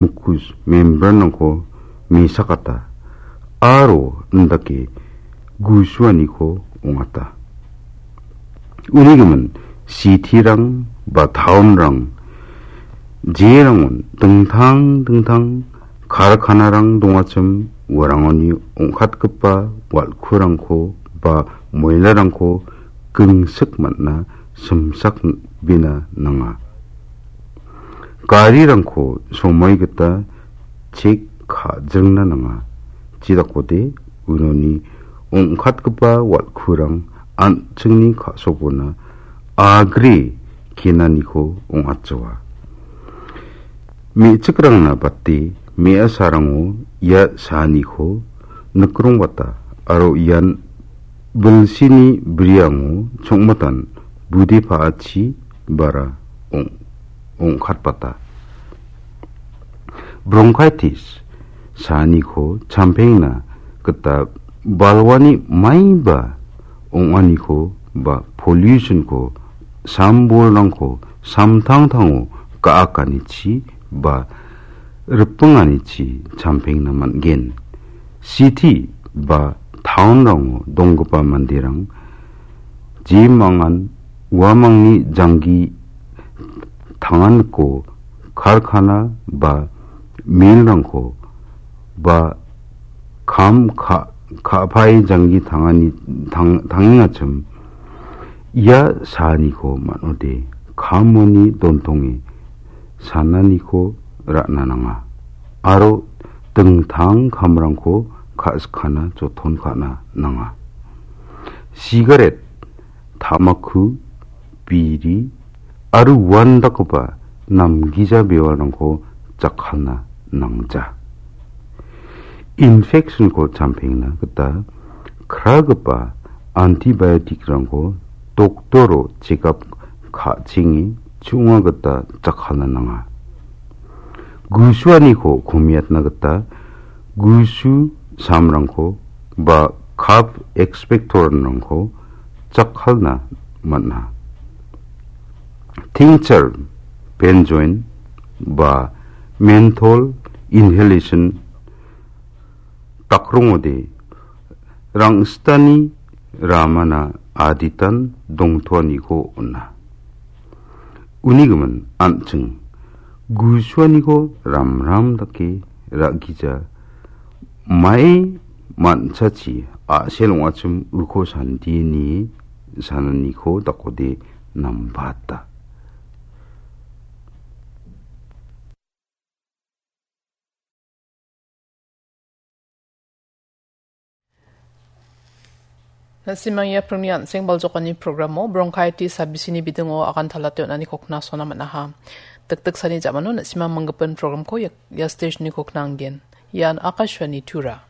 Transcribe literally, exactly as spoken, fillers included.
mucus membranrangko mesakata aro indake gusuaniko ong·ata. Unigimin citirang ba taonrang jerangon dingtang dingtang karkanarang dongachim uarangoni ong·katgipa wal·kurangko ba moilarangko gingsik man·a simsakbena nanga. Garirangko somoi gita chek ka·jringna nanga. Jidakode unoni ong·katgipa wal·kurang an·chingni ka·sobona agre kenaniko ong·atjoa. Me·chikrangna bate me·asarango ia saaniko nikrongbata aro ian bilsini briango chongmatan bude pa·achi bara ong-, ong·katbata. Bronchitis saaniko champengna gita balwani maiba ong·aniko ba pollution-ko sambolrangko samtangtango ga·akanichi ba ripinganichi champengna man·gen. City ba taonrango donggipa manderang jemangan uamangni janggi tanganiko karkana ba milrangko ba kam ka-, ka·pae janggi tangani-, tang-, tangengachim ia saaniko man·ode kamoni dontonge sananiko ra·na nanga aro dingtang kamrangko ka·sikana joton ka·na nanga. Sigaret, tamaku, biri aro uandakgipa namgija bewarangko jakkalna nangja. Infection-ko champengna gita kragipa antibiotic-rangko doktoro chekap ka·chenge chu·onga gita jakkalna nanga. Gusuaniko komiatna gita gusu samrangko ba cough expectorant-rangko jakkalna man·a. Tincture, benzoin ba menthol inhalation dakrongode rang·sitani ramana aditan dongtoaniko on·a. Unigimin an·ching gusuaniko ramram dake ra·gija, mae man·chachi a·sel ong·achim uko sandie nie sananiko dakode nambata. Na·simang ia pringni an·seng baljokani programo bronchitis sabisini bidingo agan talate on·aniko knasona man·aha. Dikdiksani ja·mano na·simang manggipin programko ia, ia stageni kokna anggen. Ian Akashvani Tura.